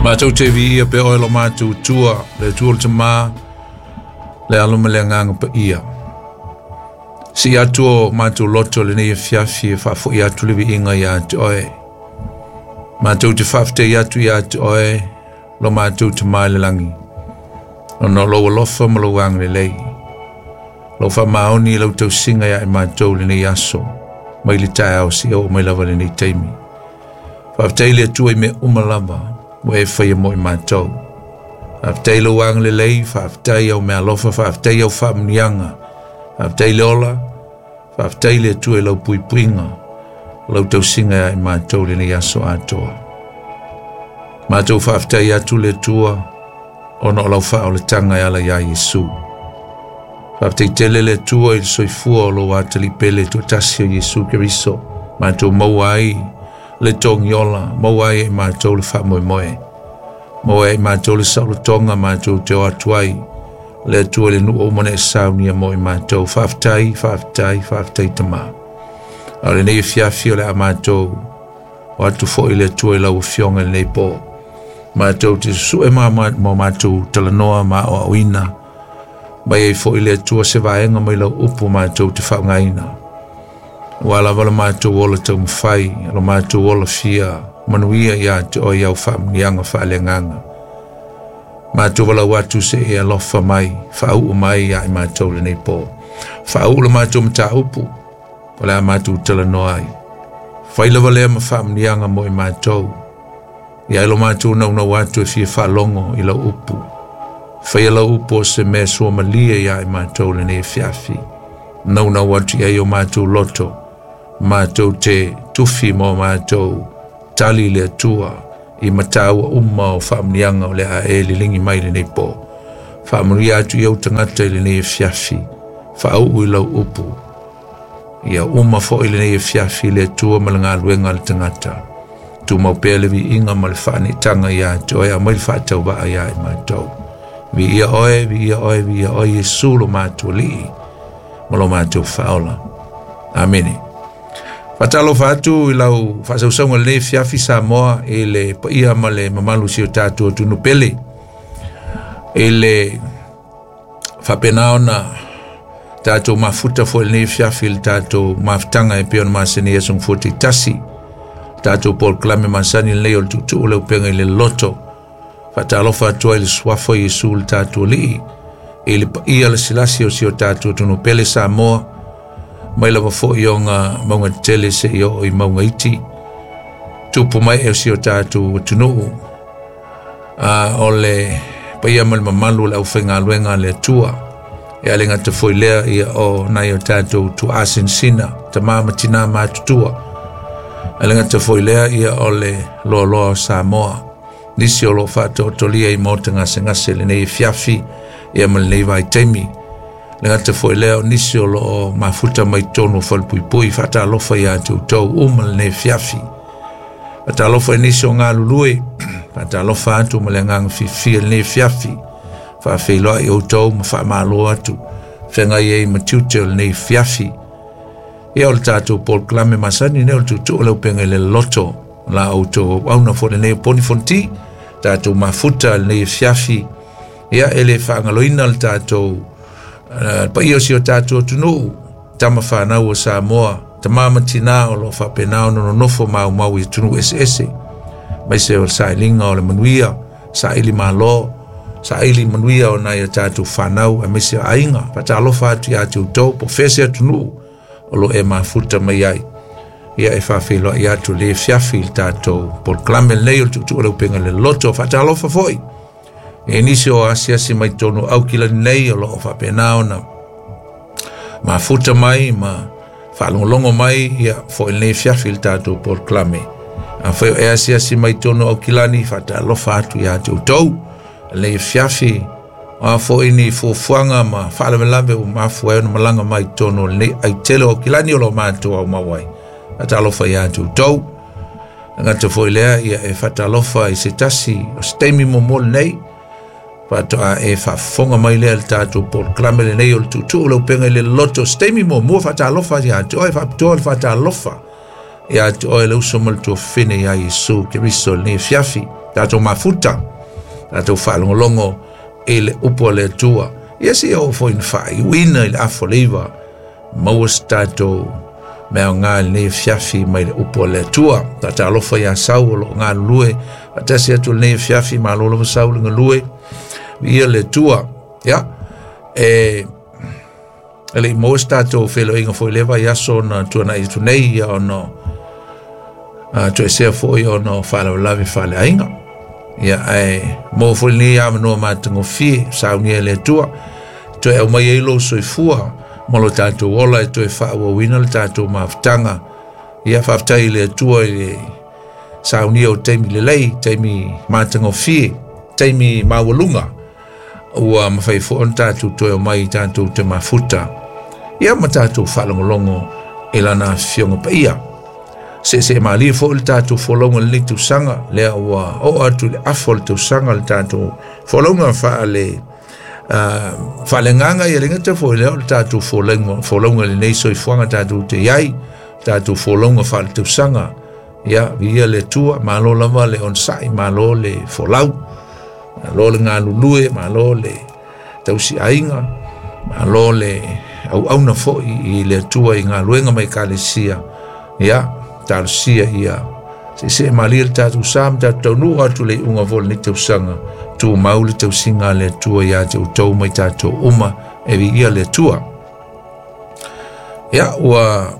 Matou te viia pea oe lo matou Atua, le Atua o le Tamā, le Alo ma le Agaga Paia. Sii atu o matou loto lenei afiafi e faafoi atu le viiga ia te oe. Matou te faafetai atu ia te oe lo matou Tamā i le lagi, ona o lou alofa ma lou agalelei. Lou faamaoni i lau tausiga ia i matou lenei aso, mai le taeao seia oo mai lava lenei taimi. Faafetai le Atua i mea uma lava ua e faia mo i matou. Faafetai lou agalelei, faafetai au meaalofa, faafetai au faamanuiaga, faafetai le ola, faafetai le Atua i lau puipuiga, lau tausiga ia i matou lenei aso atoa. Matou faafetai atu le Atua ona o lau faaolataga e ala iā Iesu. Faafetai tele le Atua i le soifua o lou atalii pele toatasi o Iesu Keriso, matou maua ai le togiola, maua ai e matou le faamoemoe, maua ai e matou le saolotoga matou te o atu ai le Atua i le nuu uma na e saunia mo i matou. Faafetai, faafetai, faafetai Tamā. A o lenei afiafi o le a matou o atu foi le Atua i lau Afioga i lenei po. Matou te susue ma matou talanoa ma aoaoina mai ai foi le Atua se vaega mai lau upu matou te faaaogaina. Ua lava la matou ola taumafai, lo matou ola fia manuia ia te oe au faamanuiaga faaleagaga. Matou walau atu se e alofa mai, faauu mai ia i matou lenei po. Faauu le matou mataupu, o le a matou talanoa ai. Fai lava lea ma faamanuiaga mo i matou. Ia e lo matou naunau atu e fia faalogo i lau upu. Faia lau upu o se mea suamalie ia i matou lenei afiafi. Naunau atu i ai o matou loto, matou te tufi mo matou tali le Atua i mataua uma o faamanuiaga o le a e liligi mai lenei po. Faamanuia atu i ou tagata i lenei afiafi, faauu i lau upu. Ia uma foi lenei afiafi le Atua ma le galuega a le tagata. Tumau pea le viiga ma le faanitaga ia te oe, aumai le faatauvaa ia i matou. Viia oe, viia oe, viia oe, Iesu lo matou Alii ma lo matou Faaola. Amene. Faatalofa atu i lau faasausauga lenei afiafi Samoa i le paia ma le mamalu si o tatou atunuu pele. I le faapena ona tatou mafuta foi lenei afiafi i le tatou mafutaga e pei ona masani ai aso Gafua taitasi. Tatou polokalame masani lenei o le tuutuu le upega i le loto. Faatalofa atu ai le suafa o Iesu le tatou Alii i le paia lasilasi o si o tatou atunuu pele Samoa, mai lava foi ona mauga tetele seia oo i mauga iti, tupu mai e o si o tatou atunuu. O le paia ma le mamalu o le aufaigaluega a le Atua. E ale gata foi lea ia o nai o tatou tuaasinasina, tamā ma tinā matutua. Ale gata foi lea ia o le loaloa o Samoa. Nisi o lo faatoatolia i maota gasegase lenei afiafi ia ma lenei vaitaimi. Le gata foi lea o nisi o lo mafuta mai totonu o falepuipui, faatalofa ia te outou uma lenei afiafi. Faatalofa i nisi o galulue, faatalofa atu ma le agaga fiafia lenei afiafi. Faafeiloai outou ma faamalo atu feagai ai ma tiute o lenei afiafi. Ia o le tatou polokalame masani nei o le tuutuu o le upega i le loto la outou auauna foi lenei o Poni Fonoti, tatou mafuta lenei afiafi. Ia e le faagaloina le tatou paia o si o tatou atunuu, tama fanau o Samoa, tama ma tinā o lo o faapena ona nonofo maumau i atunuu eseese, aemaise o le sailiga o le manuia, saili malo, saili manuia o nai o tatou fanau, aemaise o aiga. Faatalofa atu ia te outou po o fea se atunuu o lo e mafuta mai ai. Ia e faafeiloai atu le afiafi i le tatou polokalame lenei o le tuutuu o le upega i le loto. Faatalofa foi e nisi o asiasi mai totonu o Aukilani nei o lo o faapena ona mafuta mai ma faalogologo mai ia foi lenei afiafi i le tatou polokalame. Afai o e asiasi mai totonu o Aukilani, faatalofa atu ia te outou lenei afiafi. O a foi ni fuafuaga ma faalavelave ua mafua ai ona malaga mai totonu o lenei aitele o Aukilani o lo o matou aumau ai. Faatalofa ia te outou. Gata foi lea ia e faatalofa i se tasi o se taimi muamua lenei faatoa e faafofoga mai lea le tatou polokalame lenei o le tuutuu o le upega i le loto. Se taimi muamua faatalofa ia te oe, faapitoa le faatalofa Ia te oe le uso ma le tuafafine ia Iesu Keriso i lenei afiafi. Tatou mafuta, tatou faalogologo i le upu a le Atua. Ia se i oo foi ina faaiuina i le afa o le 9, maua se tatou mea aoga i lenei afiafi mai le upu a le Atua. Faatalofa ia Sau o lo o galulue faatasi atu i lenei afiafi, malo lava Sau le galue, viia le Atua. Ia, e le i maua se tatou feiloaiga foi i lea vaiaso na tuanai atu nei, ia ona toesea foi ona o faalavelave faaleaiga. Ia, ae maua foi lenei avanoa matagofie, saunia e le Atua, toe aumai ai lou soifua ma lo tatou ola e toe faaauauina le tatou mafutaga. Ia, faafetai i le Atua i le saunia o taimi lelei, taimi matagofie, taimi maualuga, ua mafai foi ona tatou toe omai tatou te mafuta, ia ma tatou faalogologo i lana afioga paia. Seesee malie foi le tatou folauga i lenei tausaga, lea ua oo atu i le afa o le tausaga le tatou folauga faale faaleagaga, ia le gata foi lea o le tatou folauga i lenei soifuaga tatou te iai, tatou folauga faaletausaga. Ia, viia le Atua, malo lava le onosai, malo le folau, malo le galulue, malo le tausiaiga, malo le auauna foi i le Atua i galuega ma ekalesia. Ia, talosia ia seesee malie le tatou sa ma tatou taunuu atu le iuga foi o lenei tausaga, tumau le tausiga a le Atua ia te outou ma i tatou uma, e viia le Atua. Ia, ua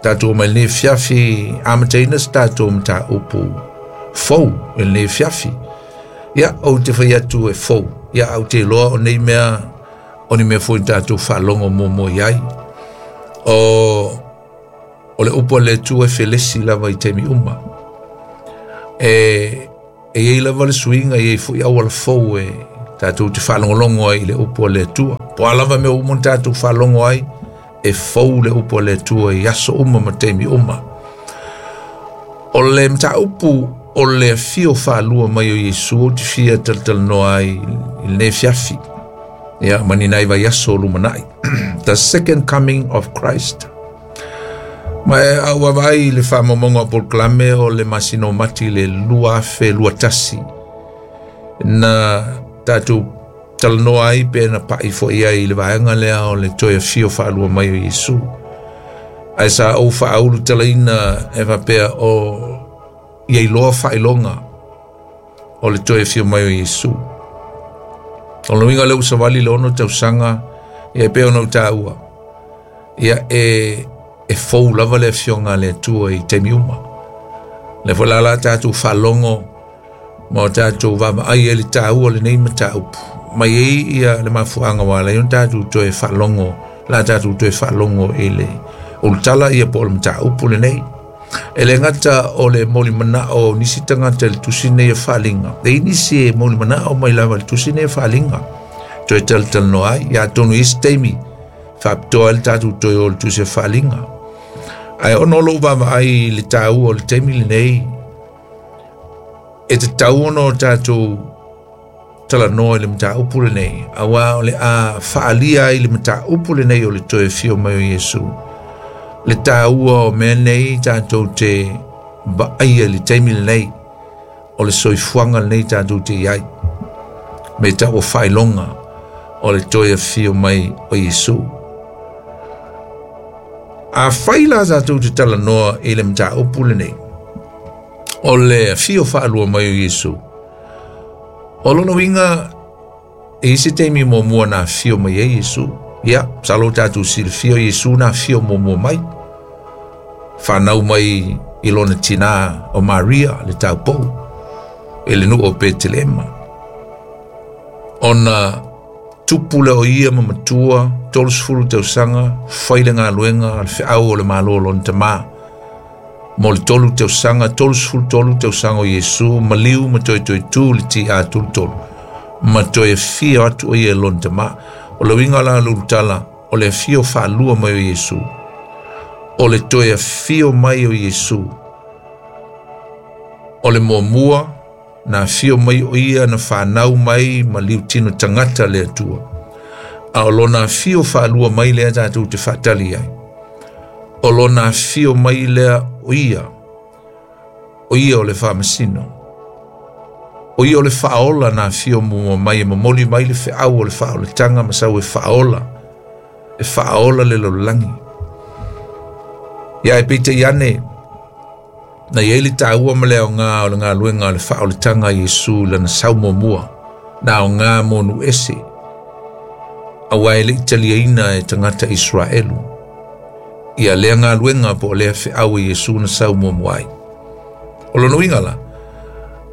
tatou mai lenei afiafi amataina se tatou mataupu fou i lenei afiafi. Ia, ou te fai atu e fou, ia, au te iloa o nei mea, o ni mea foi na tatou faalogo muamua i ai. O le upu a le Atua e felesi lava i taimi uma. E iai lava le suiga, e iai foi auala fou e tatou te faalogologo ai i le upu a le Atua. Po o a lava mea uma na tatou faalogo ai, e fou le upu a le Atua i aso uma ma taimi uma. O le mataupu o le afio faalua mai o Iesu ou te fia talatalanoa ai i lenei afiafi, ia, ma ni nai vaiaso o lumanai. The second coming of Christ. Ma e au vaavaai i le faamaumauga o polokalame o le masina o Mati le 2021 na tatou talanoa ai pe na pai foi ai i le vaega lea o le toe afio faalua mai o Iesu. Ae sa ou faaulu talaina e faapea o ia iloa faailoga o le toe afio mai o Iesu. O le uiga lea ua savali le 6 tausaga, ia e pei ona ou taua, ia e fou lava le afioga a le Atua i taimi uma. Le foi la la tatou faalogo ma o tatou vaavaai ai le taua o lenei mataupu, mai ai ia le mafuaaga ua ala ai ona tatou toe faalogo, la tatou toe faalogo i le ulutala ia po o le mataupu lenei. E le gata o le molimanao o nisi tagata i le tusi nei o Faaaliga, e i nisi e molimanao mai lava i le tusi nei o Faaaliga, toe talatalanoa ai, ia atonu i isi taimi faapitoa ai le tatou toe o le tusi o Faaaliga. Ae ona o lou vaavaai i le taua o le taimi lenei, e tatau ona o tatou talanoa i le mataupu lenei, auā o le a faalia ai le mataupu lenei o le toe afio mai o Iesu, le taua o mea nei tatou te vaaia i le taimi lenei o le soifuaga lenei tatou te i ai, me tau o faailoga o le toe afio mai o Iesu. A fai la tatou te talanoa i le mataupu lenei o le afio faalua mai o Iesu, o lona uiga e i se taimi muamua na afio mai ai Iesu. Ia, masalo tatou silafia o Iesu na afio muamua mai, whanau mai i lona tina o Maria le taupou i le nuu o Petelema. Ona tupu le o ia ma matua 30 tausaga, fai le galuega a le feau o le malo o lona tamā. Mo le 3 tausaga, 33 tausaga o Iesu, maliu ma toe toe tu le tia tolu ma toe afio atu o ia i lona tamā. O le uiga la lulutala o le afio faalua mai o Iesu, o le toe afio mai o Iesu, o le muamua na afio mai o ia na whanau mai ma liu tino tangata le Atua. A o lona afio faalua mai lea tatou te faatali ai, o lona afio mai lea o ia, o ia o le faamasino. O ia o le faaola na afio muamua mai e momoli mai le feau o le faaolataga ma sau e faaola, e faaola le lalolagi. Ia e peitai ane, na i ai le taua ma le aoga o le galuega o le faaolataga a Iesu i lana sau muamua, na aoga mo nuu ese, aua e le i taliaina e tagata Isaraelu ia lea galuega po o lea feau a Iesu na sau muamua ai. O lona uiga la,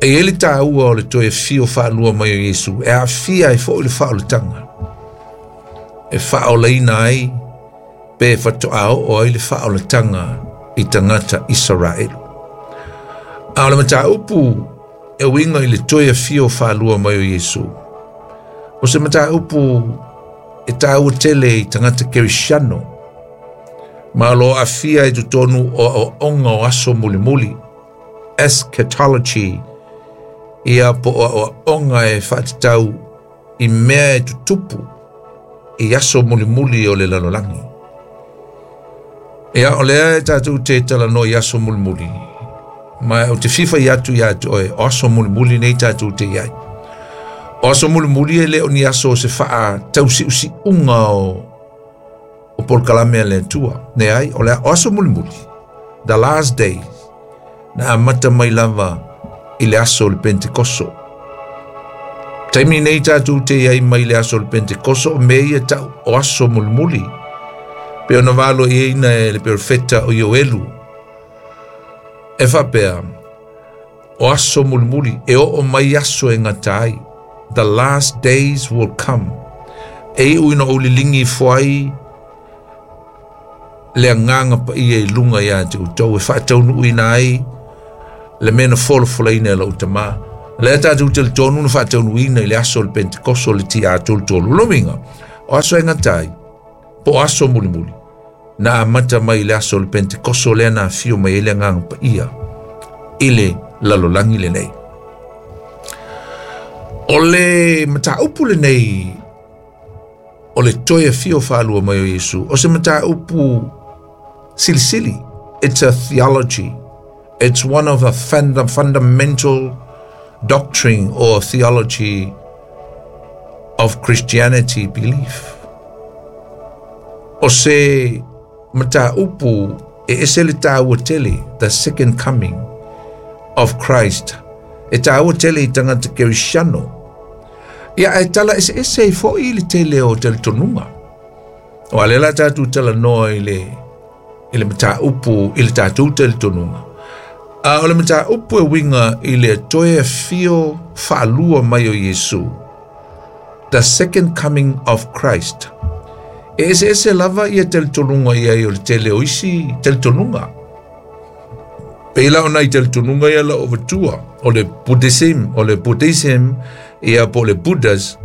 e i ai le taua o le toe afio faalua mai o Iesu e aafia ai foi le faaolataga, e faaolaina ai pe faatoa oo ai le faaolataga i tagata Isaraelu. A o le mataupu e uiga i le toe afio faalua mai o Iesu, o se mataupu e taua tele i tagata Kerisiano, ma o lo o aafia i totonu o aoaoga o aso mulimuli, eschatology, ia po o aoaoga e faatatau i mea e tutupu i aso mulimuli o le lalolagi. Ia, o lea e tatou te talanoa i aso mulimuli, ma ou te fia fai atu ia te oe, o aso mulimuli nei tatou te i ai. O aso mulimuli e le o ni aso o se faatausiusiuga o polokalame a le Atua. Leai, o le o aso mulimuli, the last days, na amata mai lava i le aso o le Pentekoso. Taimi nei tatou te i ai mai le aso o le Pentekoso, o mea ia tau o aso mulimuli. Pe ona valo i eina e le perofeta o Ioelu. E faapea, o aso mulimuli, e oo mai aso e gata ai. The last days will come. E iu ina ou liligi ifo ai le agaga paia i luga ia te outou e faataunuuina ai le mea na folafolaina e lou Tamā. Lea tatou talitonu na faataunuuina i le aso o le Pentekoso le TA33. Lona uiga, o aso e gata ai, po o aso mulimuli, na amata mai i le aso o le Pentekoso lea na afio mai ai le agaga paia i le lalolagi lenei. O le mataupu lenei o le toe afio faalua mai o Iesu, o se mataupu silisili. It's a theology. It's one of the fundamental doctrine or theology of Christianity belief. O se mataupu e ese le taua tele, the second coming of Christ. E taua tele i tagata Kerisiano. Ia, e tala eseese ai foi le tele o talitonuga. O a lea la tatou talanoa i le mataupu i le tatou talitonuga. A o le mataupu e uiga i le toe afio faalua mai o Iesu, the second coming of Christ. E eseese lava ia talitonuga i ai o le tele o isi talitonuga. Pei la o nai talitonuga ia la o avatua, o le Buddhism, ia po o le Buddhas,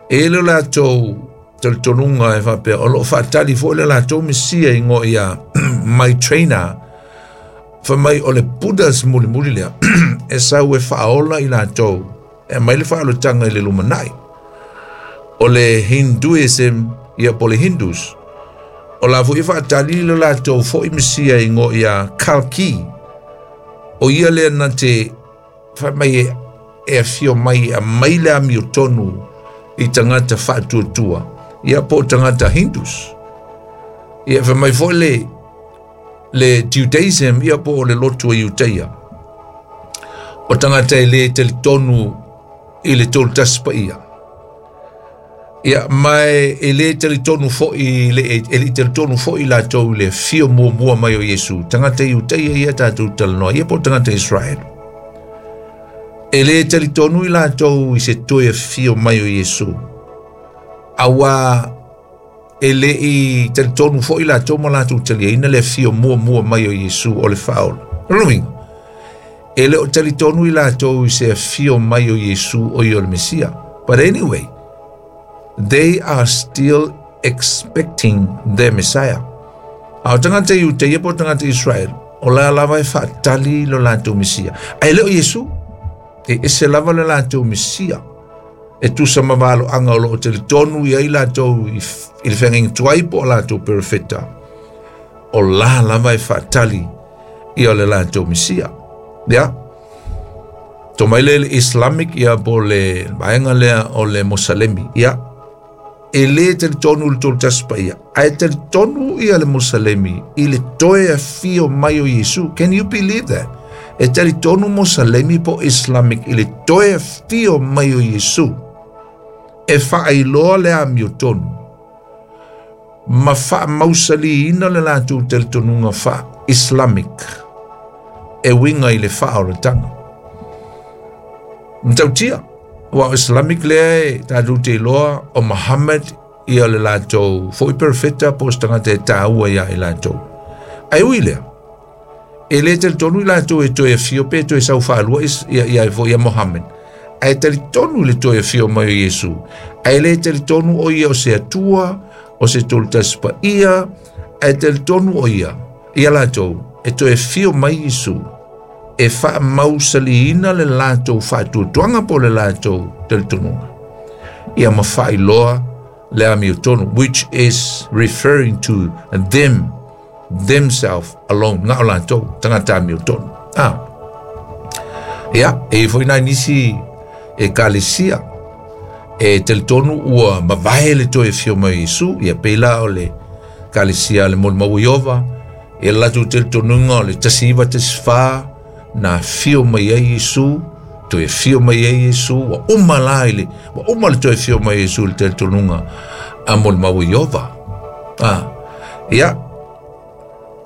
e le latou talitonuga e faapea, o loo faatali foi le latou Mesia ingoa ia Maitreya, fa mai o le Buddhas mulimuli lea, e sau e faaola i latou, e mai le faaolataga i le lumanai. O le Hinduism, ia po o le Hindus, o la foi e faatali le latou foi Mesia ingoa ia Kalki, o ia lea na te fa mai e afio mai a mai le amiotonu i tagata faatuatua, ia po o tagata Hindus. Ia fa mai foi le Judaism, ia po o le lotu o Iutaia. O tagata e le talitonu i le tolu tasi paia. Ia, mai e le talitonu foi e le talitonu foi latou i le afio muamua mai o Iesu. Tagata Iutaia ia tatou talanoa, ia po o tagata Israel. E le talitonu i latou i se toe afio mai o Iesu. Aua e le i talitonu foi latou ma latou taliaina le afio muamua mai o Iesu o le faaola. O lona uiga, e le o talitonu i latou i se afio mai o Iesu o ia o le Mesia. But anyway, they are still expecting their Messiah. A o tagata Iutaia po o tagata Israel, o la lava e faatali lo latou Mesia. Ae le o Iesu, e ese lava le latou Mesia. E tusa ma valoaga o loo talitonu i ai latou i le feagaiga tuai po o latou perofeta. O la lava e faatali Ia o le latou Mesia. Ia. To mai le Islamic ia po le vaega lea o le Mosalemi. Ia. E le talitonu le Tolu Tasi Paia, ae talitonu ia le Mosalemi i le toe afio mai o Iesu. Can you believe that? E talitonu Mosalemi po Islamic i le toe afio mai o Iesu e faailoa le amiotonu ma faamausaliina le latou talitonuga faa-Islamic e uiga i le faaolataga. Matautia, ua o Islamic lea e tatou te iloa o Muhammad ia le latou foi perfeta po o se tagata e taua ia i latou. Ae ui lea, e le talitonu i latou e toe afio pe toe sau faalua ia, ia foi ia Muhammad. Ae talitonu i le toe afio mai o Iesu. Ae le talitonu o ia o se Atua, o se Tolu Tasi Paia, ae talitonu o ia, ia latou, e toe afio mai Iesu e faamausaliina le latou faatuatuaga po o le latou talitonuga. Ia ma faailoa le amiotonu, which is referring to them, themselves alone, na o latou, tagata amiotonu. Ah. Ia, e foi nai nisi ekalesia e talitonu ua mavae le toe afio mai o Iesu, ia pei la o le ekalesia a le Molimau o Ieova, ia le latou talitonuga o le 1914 na afio mai ai Iesu, toe afio mai ai Iesu, ua uma la i le, ua uma le toe afio mai o Iesu i le talitonuga a Molimau o Ieova. Ah, ia,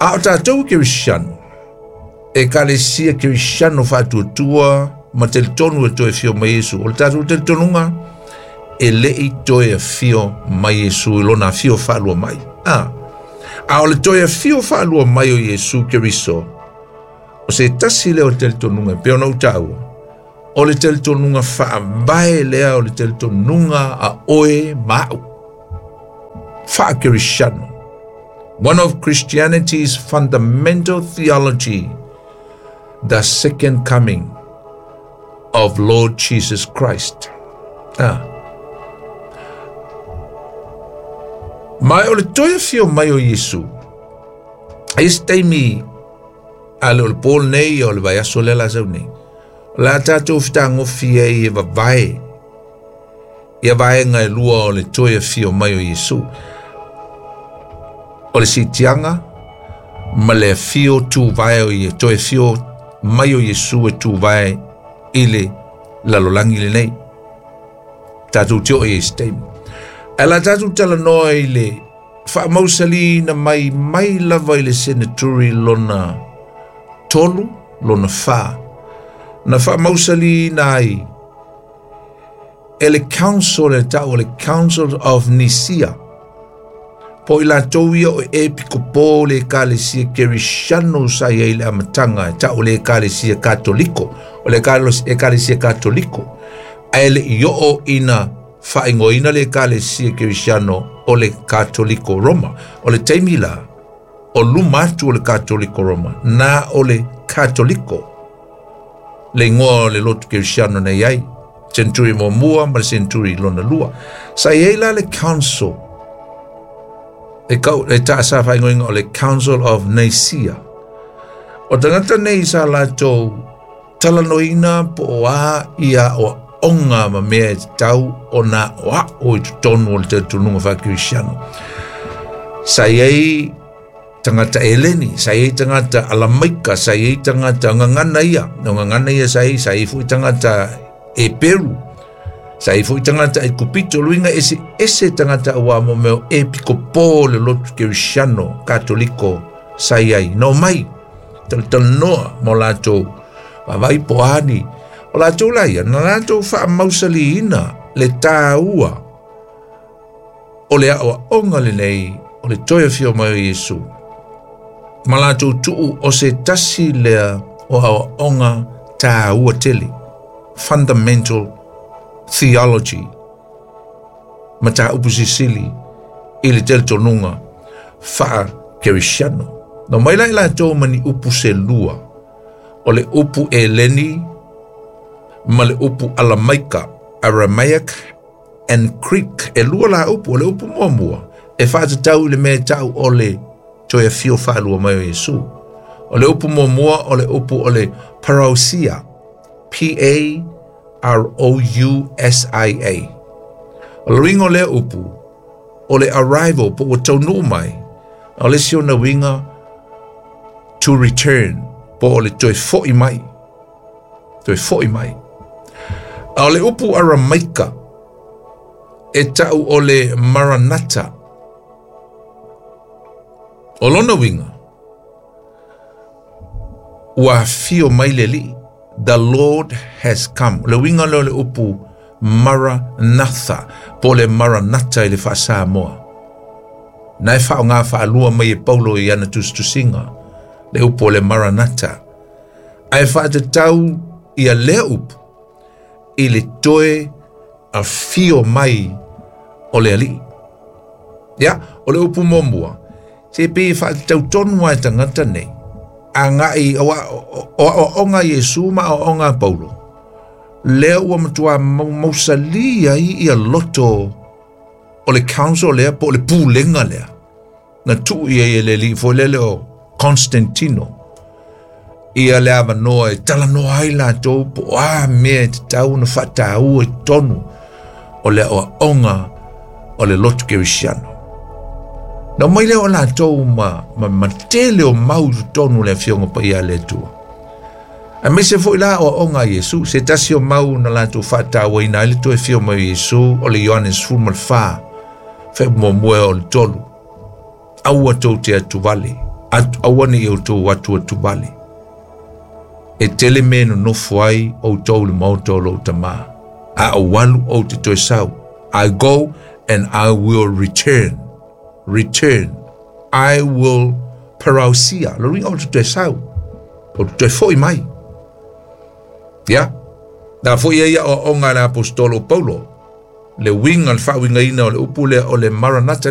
a o tatou Kerisiano, ekalesia Kerisiano faatuatua ma talitonu e toe afio mai Iesu. O le tatou talitonuga, e le i toe afio mai Iesu i lona afio faalua mai. Ah, a o le toe afio faalua mai o Iesu Keriso, o se tasi lea o talitonuga e pei ona ou taua, o le talitonuga faavae lea o le talitonuga a oe ma au. Faa-Kerisiano. One of Christianity's fundamental theology, the second coming of Lord Jesus Christ. Ah. Ma o le toe afio mai o Iesu, e se taimi a le o le po lenei o le vaiaso lea la sau nei, o le a tatou fetagofi ai e vavae ia vaega e lua o le toe afio mai o Iesu. O le siitiaga ma le afio tuvae o ie, toe afio mai o Iesu e tuvae i le lalolagi lenei. Tatou te oo i ai se taimi. Ae la tatou talanoa i le faamausaliina mai mai lava i le seneturi lona 3, lona 4, na faamausaliina ai e le Council e tau o le Council of Nicaea, po i latou ia o epikopo o le ekalesia Kerisiano sa i ai le amataga e tau o le ekalesia Katoliko, o le ekalesia Katoliko, ae le i oo ina faaigoaina le ekalesia Kerisiano o le Katoliko Roma. O le taimi la, o luma atu o le Katoliko Roma, na o le Katoliko le igoa o le lotu Kerisiano na i ai, century muamua ma le century lona lua. Sa i ai la le council, e, kau, e ta sa faaigoaina o le Council of Nicaea. O tagata nei sa latou talanoaina po o a ia aoaoga ma mea e tatau ona aoao i totonu o le talitonuga faa-Kerisiano. Sa i ai tagata Eleni, sa i ai tagata Alamaika, sa i ai tagata gagana ia, o gagana ia sa i ai, sa i ai foi tagata Eperu, sa i ai foi tagata Aikupito, luiga ese ese tagata aua mo mea o epikopo o le lotu Kerisiano Katoliko sa i ai. Na omai, talatalanoa ma o latou vaavaai po o a ni, o latou la ia, na latou faamausaliina le taua o le aoaoga lenei o le toe afio mai o Iesu, ma latou tuu o se tasi lea o aoaoga taua tele, fundamental theology, mataupu sisili i le talitonuga faa-Kerisiano. Na omai la i latou ma ni upu se lua, o le upu Eleni ma le upu Alamaika, Aramaic and Greek. E lua la upu, o le upu muamua e faatatau i le mea e tau o le toe afio faalua mai o Iesu. O le upu muamua o le upu o le parousia, P A R O U S I A. O le uiga o lea upu, o le arrival po ua taunuu mai, a o le isi ona uiga to return, po o le toe fo'i mai, toe fo'i mai. A o le upu Aramaika e ta'u o le Maranata. O lona uiga, ua afio mai le Alii. The Lord has come. O le uiga lea o le upu Maranatha, po o le Maranata i le faa-Samoa. Na e faaaoga faalua mai e Paulo i ana tusitusiga, le upu o le Maranata. Ae faatatau ia lea upu i le toe afio mai o le Alii. Ia, o le upu muamua, se pei e faatatau tonu lava e tagata nei, agai o aoaoga a Iesu ma aoaoga a Paulo, lea ua matua mausali ai ia loto o le council lea po o le pulega lea na tuu i ai e le alii foi lele o Constantino ia le avanoa e talanoa ai latou po o a mea e tatau ona faataua i totonu o le aoaoga o le lotu kerisiano. Na omai lea o latou ma, ma, ma tele o mau i totonu o le afioga paia a le Atua. Aemaise foi la aoaoga a Iesu, se tasi o mau na latou faatauaina ai le toe afio mai o Iesu o le Ioane 14, fe muamua o le tolu. Aua tou te atuvale, aua ne i outou atu atuvale. E tele mea e nonofo ai outou i le maota o lou Tama. A ou alu ou te toe sau. I go and I will return. Return. I will parousia. Lo uiga ou te toe sau. Ou te toe foi mai. Ia. Na foi ai aoaoga a le aposetolo o Paulo. Le uiga, le faauigaina o le upu lea o le Maranata.